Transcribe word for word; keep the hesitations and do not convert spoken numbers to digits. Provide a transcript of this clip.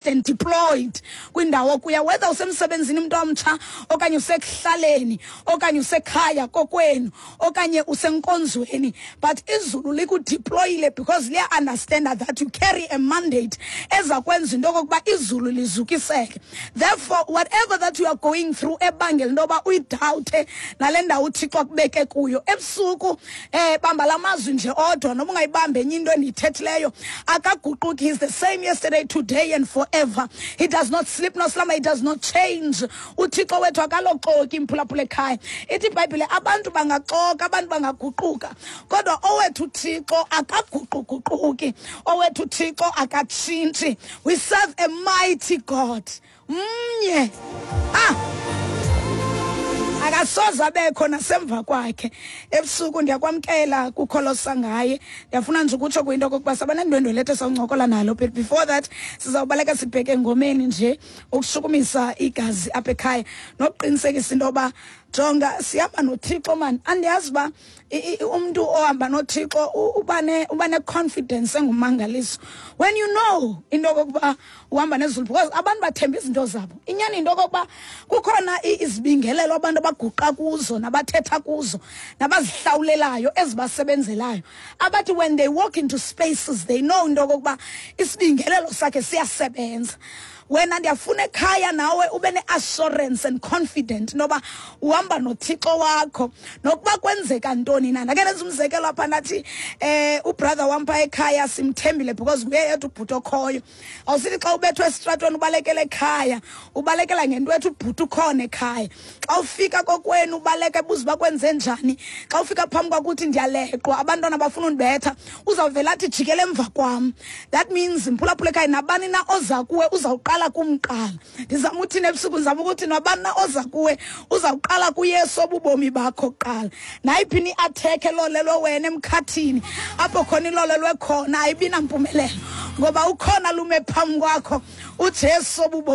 And deployed kwindawo kuya, whether usemsebenzini, umuntu omtsha, okanye usekuhlaleni, okanye usekhaya kokwenu, okanye usenkonzweni, but izulu likudeployile because liya-understanda that you carry a mandate eza kwenza into okokuba izulu lizukiseke. Therefore, whatever that you are going through ebangela into yoba uyidawuthe nale ndawo uThixo akubeke kuyo ebusuku, eh bamba la mazwi nje odwa, noba ungayibambi enye into endiyithethileyo. Akaguquki. He is the same yesterday, today and forever. He does not sleep nor slumber. He does not change. UThixo wethu akaloxoki, mphulaphula ekhaya. Ithi iBhayibhile abantu bangaxoka, abantu bangaguquka, kodwa owethu uThixo akaguquguquki, owethu uThixo akatshintshi. We serve a mighty God. Mnye, ah akasoze abekho nasemva kwakhe. Ebusuku ndiyakwamkela kukholosa ngaye. Ndiyafuna nje ukutsho kwinto okokuba sabanendwendwe lethu esawuncokola nalo, but before that sizawubaleka sibheke engomeni nje ukushukumisa igazi apha ekhaya nokuqinisekisa into yoba, jonga, sihamba noThixo mani. Andiyazi uba umntu ohamba noThixo uba uba ne-confidence engumangaliso when you know into okokuba uhamba nezulu, because abantu bathemba izinto zabo. Inyani into okokuba kukhona izibingelelo abantu abaguqa kuzo nabathetha kuzo nabazihlawulelayo ezibasebenzelayo, abathi when they walk into spaces they know into okokuba isibingelelo sakhe siyasebenza. Wena ndiyafuna ekhaya nawe ube ne-assurance and confident noba uhamba noThixo wakho nokuba kwenzeka ntoni na. Ndake nenza umzekelo apha, ndathi eh ubrother wam phaa ekhaya simthembile because nguye yedwa ubhuti okhoyo. Awusithi xa ubethwe esitratweni ubalekela ekhaya, ubalekela ngento ethi ubhuti ukhona ekhaya. Xa ufika kokwenu ubaleka ebuza uba kwenze njani. Xa ufika phambi kwakuthi ndiyaleqwa, abantwana bafuna undibetha, uzawuvela athi jikele emva kwam. That means, mphulaphula ekhaya, nabani na oza kuwe uzawuqala kumqala. Ndizama uthini ebusuku? Ndizama ukuthi nabani na oza kuwe uzawuqala kuYesu obubomi bakho kuqala. Nayiphi na i-attack elolelwe wena emkhathini, apho khona ilolelwe khona ayibi nampumelelo, ngoba ukhona lume phambi kwakho uJesu obubomi.